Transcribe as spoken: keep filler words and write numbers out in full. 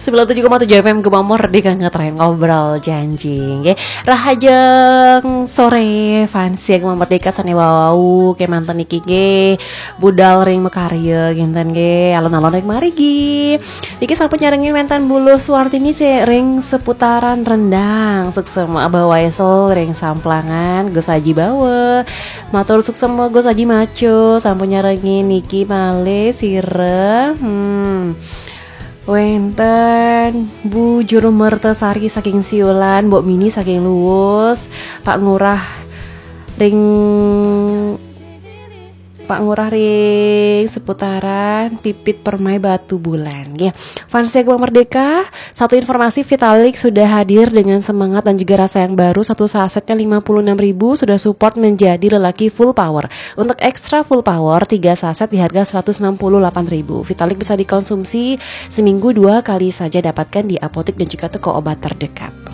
sembilan tujuh koma tujuh F M Gema Merdeka, ngetren ngobrol janji nggih. Rahajeng sore fans ya Gema Merdeka, sane wau kemanten niki nggih budal ring makarya kinten nggih, alon-alon ring marigi. Niki sampun nyarengin wenten Buluh Suartini sih ring seputaran Rendang. Suksema Abah Waisel ring Samplangan, Gus Aji Bawa. Matur suksema Gus Aji Maco sampun nyarengin niki malih sira. Hmm. Wenten Bu Juru Mertasari saking Siulan, Mbok Mini saking Luwus, Pak Ngurah ring Pak Ngurah ring seputaran, Pipit Permai Batu Bulan. Ya, fans Gema Merdeka, satu informasi, Vitalik sudah hadir dengan semangat dan juga rasa yang baru. Satu sasetnya lima puluh enam ribu, sudah support menjadi lelaki full power. Untuk extra full power, tiga saset di harga seratus enam puluh delapan ribu. Vitalik bisa dikonsumsi seminggu dua kali saja, dapatkan di apotek dan juga toko obat terdekat.